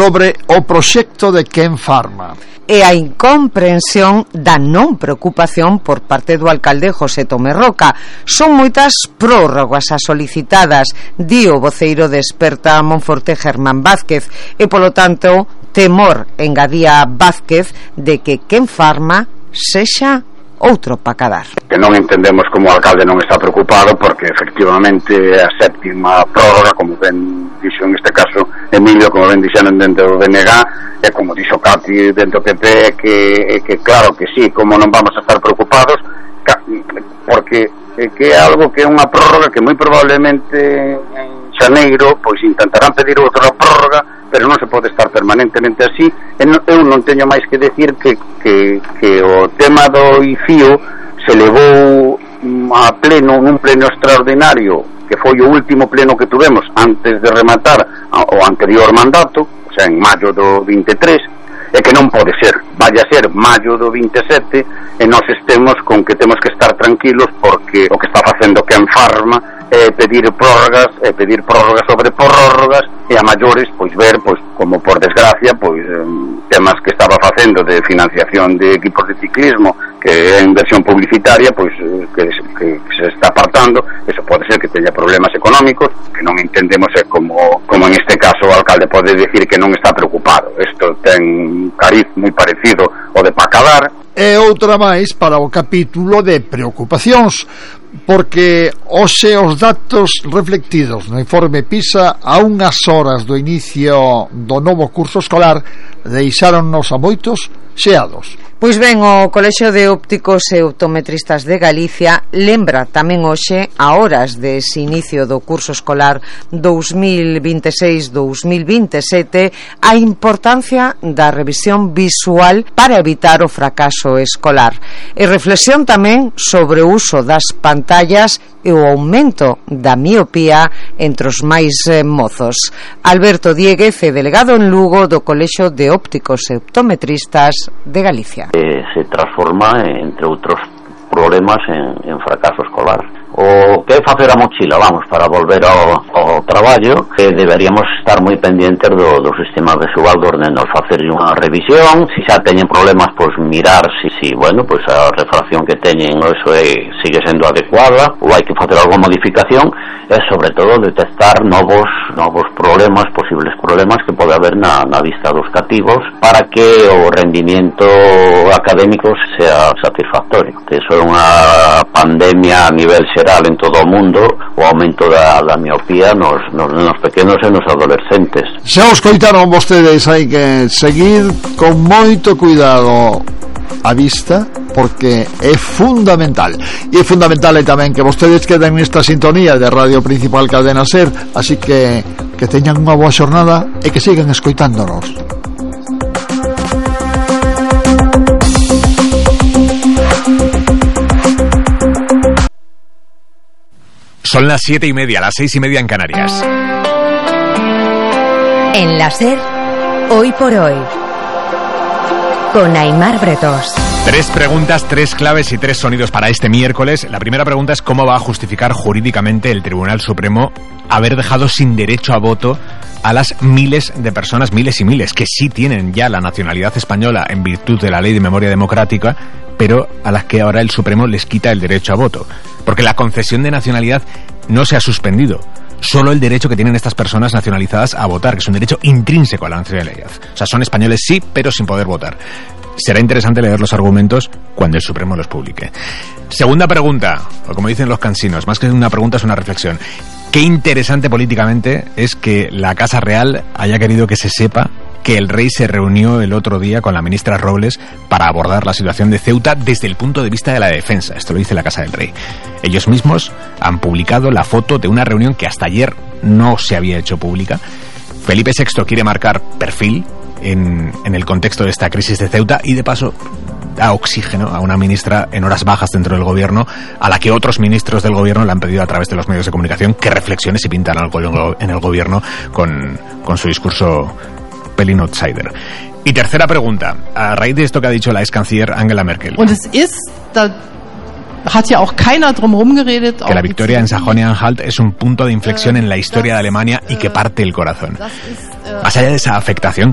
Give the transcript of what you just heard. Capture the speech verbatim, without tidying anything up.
sobre o proxecto de Ken Pharma e a incomprensión da non preocupación por parte do alcalde José Tomé Roca. Son moitas prórrogas as solicitadas, di o voceiro de Experta Monforte Germán Vázquez, e polo tanto temor, engadía Vázquez, de que Ken Pharma sexa outro pacadar. Que non entendemos como o alcalde non está preocupado, porque efectivamente a séptima prórroga, como ben dixo en este caso Emilio, como ben dixeron dentro do B N G, e como dixo Cati dentro do P P, que, que claro que sí, como non vamos a estar preocupados, porque que é algo que é unha prórroga que moi probablemente en xaneiro pois intentarán pedir outra prórroga, pero non se pode estar permanentemente así. Eu non teño máis que decir que, que, que o tema do I F I O se levou a pleno, nun pleno extraordinario, que foi o último pleno que tuvemos antes de rematar o anterior mandato, o sea, en maio do vinte e tres, e que non pode ser, vaya a ser maio do vinte e sete e nós estemos con que temos que estar tranquilos, porque o que está facendo Ken Pharma é pedir prórrogas, é pedir prórrogas sobre prórrogas, e a maiores pois ver, pois como por desgracia, pois temas que estaba facendo de financiación de equipos de ciclismo, que é inversión publicitaria, pois que, que, que se está apartando. Eso pode ser que teña problemas económicos, que non entendemos é como, como en este caso o alcalde pode decir que non está preocupado. Isto ten un cariz moi parecido ao de Pacadar. E outra máis para o capítulo de preocupacións, porque hoxe os datos reflectidos no informe PISA a unhas horas do inicio do novo curso escolar deixáronnos a moitos xeados. Pois ben, o Colexio de Ópticos e Optometristas de Galicia lembra tamén hoxe, a horas dese inicio do curso escolar dous mil vinte e seis dous mil vinte e sete, a importancia da revisión visual para evitar o fracaso escolar. E reflexión tamén sobre o uso das pantallas e o aumento da miopía entre os máis eh, mozos. Alberto Dieguez é delegado en Lugo do Colexio de Ópticos e Optometristas de Galicia. Eh, se transforma, entre outros problemas, en, en fracaso escolar. O que é facer a mochila, vamos, para volver ao, ao traballo, que deberíamos estar moi pendientes do, do sistema visual dos nenos, facer unha revisión, se xa teñen problemas, pois mirar se, si, bueno, pois a refracción que teñen, eso é, sigue sendo adecuada, ou hai que facer alguna modificación, e sobre todo detectar novos novos problemas, posibles problemas que pode haber na, na vista dos cativos, para que o rendimiento académico sea satisfactorio. Que eso é unha pandemia a nivel xeral en todo o mundo, o aumento da, da miopía nos, nos, nos pequenos e nos adolescentes. Xa os coitaron vostedes, hai que seguir con moito cuidado a vista, porque é fundamental. E é fundamental é tamén que vostedes queden nesta sintonía de Radio Principal Cadena Ser, así que que teñan unha boa xornada e que sigan escoitándonos. Son las siete y media, las seis y media en Canarias. En la Ser, hoy por hoy, con Aimar Bretos. Tres preguntas, tres claves y tres sonidos para este miércoles. La primera pregunta es cómo va a justificar jurídicamente el Tribunal Supremo haber dejado sin derecho a voto a las miles de personas, miles y miles, que sí tienen ya la nacionalidad española en virtud de la Ley de Memoria Democrática, pero a las que ahora el Supremo les quita el derecho a voto. Porque la concesión de nacionalidad no se ha suspendido. Solo el derecho que tienen estas personas nacionalizadas a votar, que es un derecho intrínseco a la nacionalidad. O sea, son españoles sí, pero sin poder votar. Será interesante leer los argumentos cuando el Supremo los publique. Segunda pregunta, o como dicen los cansinos, más que una pregunta es una reflexión. Qué interesante políticamente es que la Casa Real haya querido que se sepa que el rey se reunió el otro día con la ministra Robles para abordar la situación de Ceuta desde el punto de vista de la defensa. Esto lo dice la Casa del Rey. Ellos mismos han publicado la foto de una reunión que hasta ayer no se había hecho pública. Felipe sexto quiere marcar perfil en, en el contexto de esta crisis de Ceuta y de paso da oxígeno a una ministra en horas bajas dentro del gobierno, a la que otros ministros del gobierno le han pedido a través de los medios de comunicación que reflexione si pintan algo en el gobierno con, con su discurso pelín outsider. Y tercera pregunta, a raíz de esto que ha dicho la ex canciller Angela Merkel. Und es ist da hat ja auch keiner drumherum geredet. Que la victoria en Sajonia-Anhalt es un punto de inflexión en la historia de Alemania y que parte el corazón. Más allá de esa afectación,